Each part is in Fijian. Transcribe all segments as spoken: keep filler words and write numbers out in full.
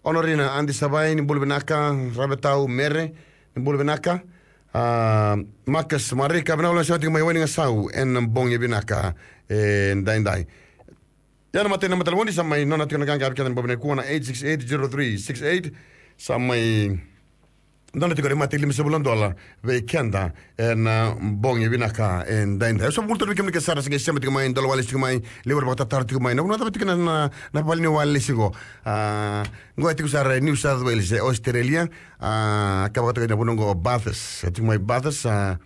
Honorina Adi Savai, ni bula vinaka. Ravetau Mere, ni bula vinaka. A, Marcus Marika, vinaka vakalevu, sema tiko mai Waigasau ena bogi vinaka edaidai. Ia na matai ni naba ni talevoni sa mai nona tiko na qaqa vei keda ena bogi nikua na eight six eight zero three six eight. Sa mai nona tiko na matai limasagavulu na dola vei keda ena bogi vinaka edaidai. Au sa vakabula tale vei kemuni kece sara sa qai sema tiko mai, dola walesi tiko mai, levu era vakatataro tiko mai. Na vanua cava tiko na, na, na vale ni walesi qo. A, qo e tiko sara e New South Wales, e Australia. A, ka vakatokai na vanua qo o Bathurst. E tiko mai Bathurst, a,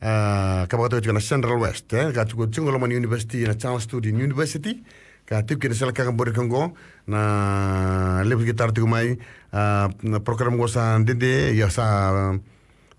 a, ka vakatokai tiko na Central West, e, ka tiko, tiko loma ni university, na Charles Sturt University, ka tiko kina sala ka ka bori ka qo, na levu ki tara tiko mai, a, na program qo sa dede, ia sa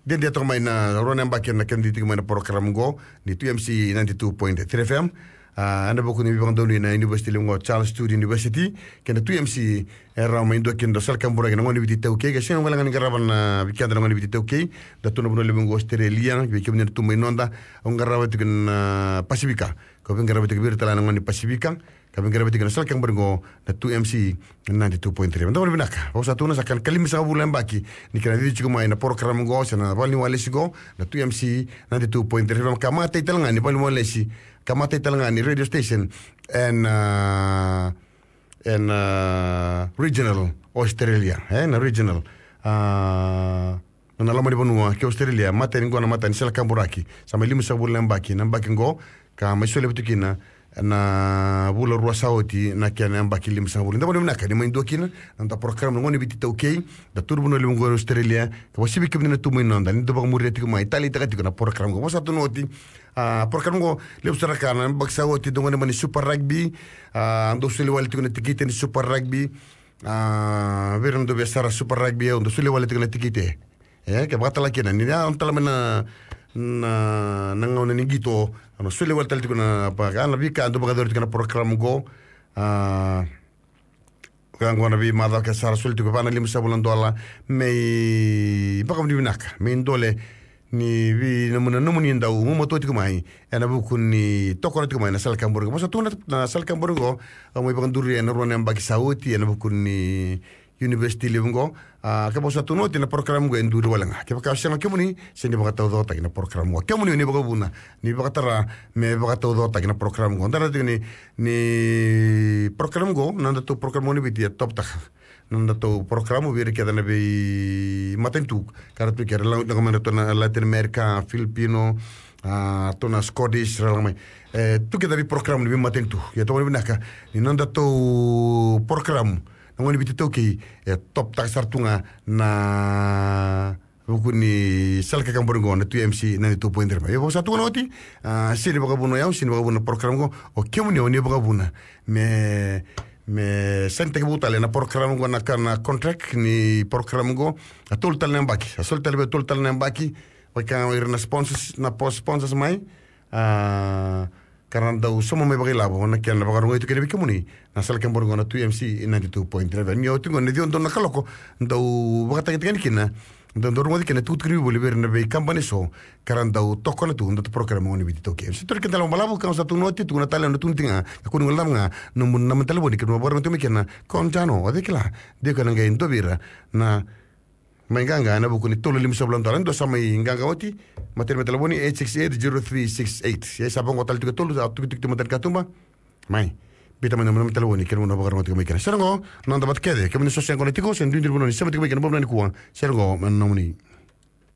dede toka mai na rua na yabaki na kena tiko mai na program qo, ni two M C ninety-two point three F M, a, ena vuku ni veivakadonui na university levu qo, Charles Sturt University, kei na two M C, e rawa mai dua kina dau sala ka buraki na gone ni Viti iTaukei, ke sega wale ga ni qarava na vei keda na gone ni Viti iTaukei, da tu na vanua levu qo Australia, vei kemuni na tu mai noda, au qarava tiko na Pasifika, ka veiqarava tiko vei ira tale na gone ni Pasifika, ka veiqarava tiko na sala ka buraki qo na two M C ninety-two point three. Da gone vinaka, au sa tu na sa ka na limasagavulu na yabaki, ni kena cici tiko mai na program qo, se na vale ni walesi qo, na two M C ninety-two point three, ka matai tale ga ni vale ni walesi, ka matai tale ga ni radio station, ena, a, ena, a, regional Australia, e, na regional, a, na loma ni vanua kei Australia, matai ni qo na matai ni sala ka buraki, sa mai limasagavulu na yabaki, na yabaki qo, ka mai solia vata kina, na vula rua sa oti, na kena yabaki limasagavulu. Da gone vinaka, ni mai dua kina, na noda program na gone ni Viti iTaukei, da tu na vanua levu qo Australia, ka vakasivaki kemuni na tu mai noda, ni dau vakamuria tiko mai, taleitaka tiko na program qo. Vosa tu na oti, a, program qo, levu sara ka na yabaki sa oti, dau gone mai ni Super Rugby, a, dau soli wale tiko na tikite ni Super Rugby, a, vei ira na dau via sara Super Rugby, au dau soli wale tiko na tikite. E, ke vakatala kina, ni a tala mai na, na, na gauna ni qito, au na soli wale tale tiko na, pa, ka na veika dau vakayacori tiko na program qo, a, ka qo na veimacawa ke sara soli tiko va na limasagavulu na dola, me ivakavinavinaka, me idole ni vei nomuni, nomuni dau gumatua tiko mai, ena vuku ni tokona tiko mai na sala ka buraki qo. Vosa tu na, na sala ka buraki qo, au mai vakaduri ena rua na yabaki sa oti, ena vuku ni university levu qo, a, ke vosa tu na oti na program qo e duri wale ga. Kevaka o sega kemuni, se ni vakataucokotaki na program qo. Kemuni o ni vakavuna, ni vakatara, me vakataucokotaki na program qo. Da raica tiko ni, ni program qo, na nodatou program qo ni Viti e top taka. Na nodatou program vei ira kece na veimatanitu. Ka ra tu kece, ra lako mai na tu na Latin America, Filipino, a, tu na Scottish, ra lako mai. E, tu kece na veiprogram ni veimatanitu. Ia toka ni vinaka, ni nodatou program na gone ni Viti iTaukei, e top taka sara tu ga na vuku ni sala ka buraki qo na two M C ninety-two point three. Ia vosa tu na oti, a, sega ni vakavuna o yau, sega ni vakavuna na program qo, o kemuni o ni vakavuna. Me, me sainitaki vou tale na program qo, na ka na contract ni program qo, a tolu tale na yabaki, a soli tale vei tolu tale na yabaki, vaka o ira na sponsors, na po-, sponsors mai, a, ka ra dau sauma mai vakailavo, na kena vakarogoci tu kina vei kemuni na sala ka buraki qo na two M C ninety-two point three. Ni oti qo na ciwa donu na kaloko, dau vakatagitagani kina, dau, dau rogoci kina tukutuku ni vuli vei ira na veikabani eso, ka ra dau tokona tu na nodatou program na gone ni Viti iTaukei. Se tu na kena dau balavu, ka sa tu na oti, tukuna tale na tukuna tiko ga, ka kua ni guilecava ga na nomuni naba ni talevoni, kemuni vakarogoci tiko mai kina, ko Jano, o cei kila, de ko na qai dua vei ira na mai qaqa ena vuku ni tolu na limasagavulu na dola. Dua sa mai qaqa oti, matai ni naba ni talevoni eight six eight zero three six eight. Ia sa vaqo tale tiko e tolu, sa tukituki tu matai ni katuba. Mai, biuta mai na naba ni talevoni, kemuni na vakarogoci tiko mai kina. Sere qo, noda vata kece, kemuni so se qo na tiko, se duidui ni vanua ni sema tiko mai kina, bobu na nikua. Sere qo, me nomuni.